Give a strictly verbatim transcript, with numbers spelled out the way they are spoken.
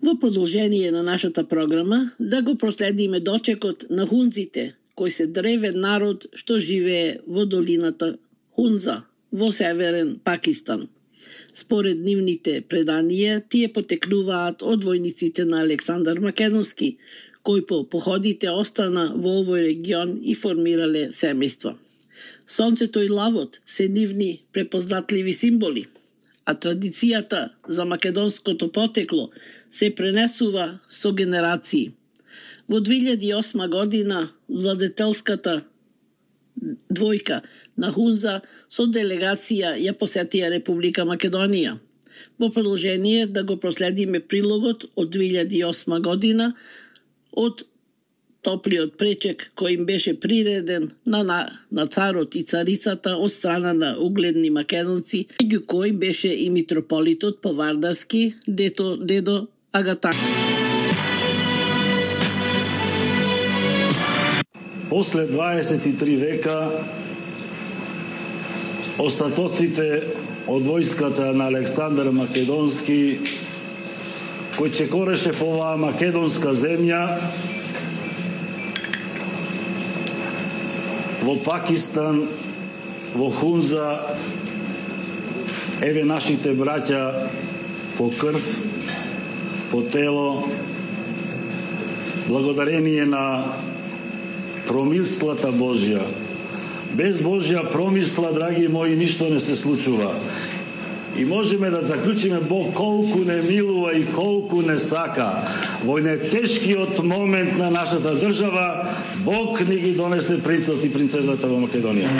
Во продолжение на нашата програма да го проследиме дочекот на хунзите, кој се древен народ што живее во долината Хунза во северен Пакистан. Според нивните преданија, тие потекнуваат од војниците на Александар Македонски, кој по походите остана во овој регион и формирале семејства. Сонцето и лавот се нивни препознатливи символи, а традицијата за македонското потекло се пренесува со генерации. Во две илјади и осма година владетелската двојка на Хунза со делегација ја посетија Република Македонија. Во продолжение да го проследиме прилогот од две илјади и осма година од топлиот пречек кој им беше приреден на, на, на царот и царицата од страна на угледни македонци, меѓу кој беше и митрополитот Повардарски, дето, дедо Агатан. После дваесет и три века остатоците од војската на Александар Македонски, кој чекореше по оваа македонска земја, во Пакистан, во Хунза, еве нашите браќа по крв, по тело, благодарение на промислата Божја. Без Божја промисла, драги мои, ништо не се случува. И можеме да заклучиме Бог колку не милува и колку не сака. Во најтешкиот момент на нашата држава, Бог ни ги донесе принцот и принцезата во Македонија.